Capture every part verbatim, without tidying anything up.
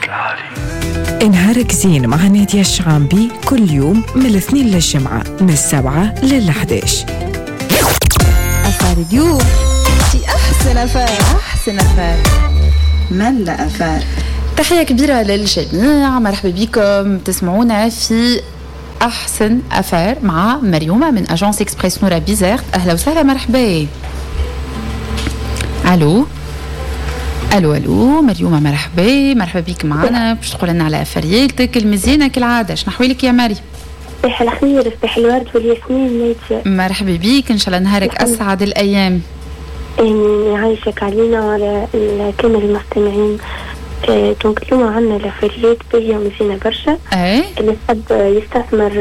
العالي. نهارك زين مع نادية الشعامبي كل يوم من الاثنين للجمعة من السبعة للحداش. affaire اليوم في أحسن affaire، أحسن affaire، ملا affaire. تحية كبيرة للجميع، مرحبا بكم، تسمعونا في أحسن affaire مع مريومة من agence Express نورا بيزرت. أهلا وسهلا، مرحبا. الو الو الو مريومة، مرحبا، مرحبا بك معنا باش تقول لنا على افارياتك المزيانة كالعادة. شنو احوالك يا مريم؟ صباح الخير، صباح الورد والياسمين نادية. مرحبا بك، ان شاء الله نهارك اسعد الايام. امين، يعيشك علينا وعلى كامل المستمعين. آه، donc اليوم عندنا الافاريات باهية ومزيانة برشا. اي اللي يحب يستثمر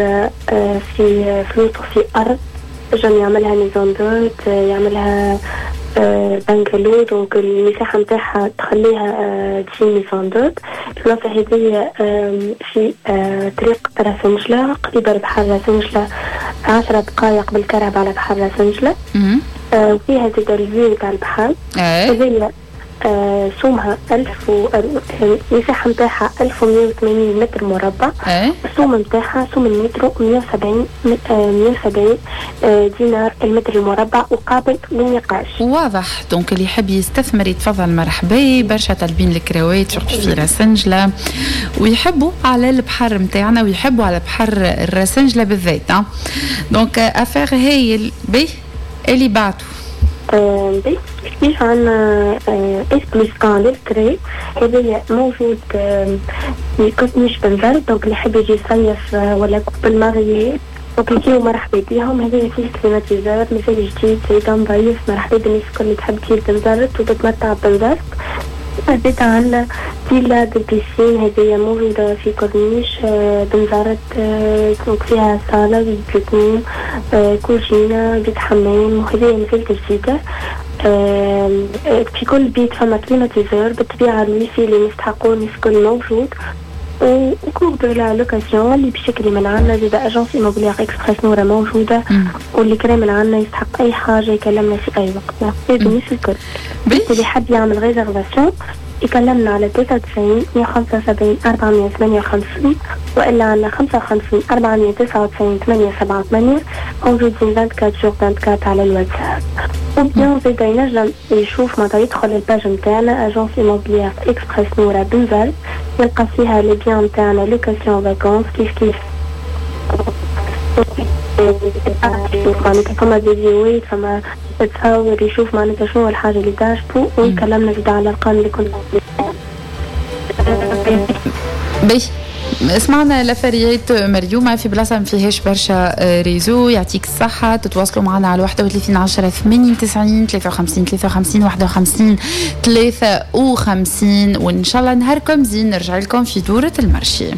آه، في فلوسه في أرض، ينجم يعملها maison d'hôte، يعملها آه، bungalow، donc المساحة نتاعها تخليها آه، تجي maison d'hôte. البلاصة هذيا في آه، طريق راسنجلة، قريبة لبحر راسنجلة، عشرة دقايق بالكرهبة على بحر راسنجلة. وفيها زاد ال vue تاع البحر. هذيا آه سومها ألف و المساحة نتاعها ألف ومية وثمانين متر مربع. السوم نتاعها سوم المتر مية وسبعين، مية وسبعين آه، دينار المتر المربع وقابل للنقاش. واضح، donc اللي يحب يستثمر يتفضل مرحبا. برشا طالبين الكراوات في راسنجلة ويحبوا على البحر نتاعنا ويحبوا على بحر الراسنجلة بالذات. donc affaire هايل بي اللي بعته. كيف عندنا S plus un للكري، هذايا موجود في كوتنيش بنزرت، donc اللي يحب يجي يصيف ولا couple marié donc يجيو مرحبا بيهم. هذايا فيه climatiseur، مازال جديد، زيد نظيف. مرحبا بالناس الكل اللي تحب تجي بنزرت وتتمتع بنزرت. زيد عندنا villa deux piscines، هذيا موجودة في كورنيش بنزرت، donc فيها صالة، بيت نوم، كوجينة، بيت حمام، وهذيا مازالت جديدة. في كل بيت فما climatiseur، بالطبيعة الويفي اللي نستحقوه الناس الكل موجود. و cours de la location، اللي باش يكري من عندنا زيد agence immobilière Express نورا موجوده، واللي كرا من عندنا يستحق اي حاجة يكلمنا في اي وقت. بالناس الكل اللي حاب يعمل réservation يكلمنا على تسعة وتسعين مية وخمسة وسبعين أربعمية وثمانية وخمسين وإلا على خمسة وخمسين أربعمية وتسعة وتسعين ثمانية سبعة ثمانية، موجودين أربعة وعشرين sur أربعة وعشرين على الواتساب. و bien زيد ينجم يشوف معناتها يدخل ال page نتاعنا agence immobilière Express نورا بنزرت، يلقى فيها les biens نتاعنا location vacances. كيف كيف معناتها فما فيديوهات، فما تصور، يشوف معناتها شنو الحاجة اللي تعجبه ويكلمنا زيد على الأرقام اللي كنا. باهي، سمعنا الافاريات مريومة في بلاصة ما فيهاش برشا réseau. يعطيك الصحة. تتواصلوا معنا على واحد وثلاثين عشرة ثمانين تسعين، ثلاثة وخمسين ثلاثة وخمسين واحد وخمسين ثلاثة وخمسين، وإن شاء الله نهاركم زين. نرجع لكم في دورة ال marché.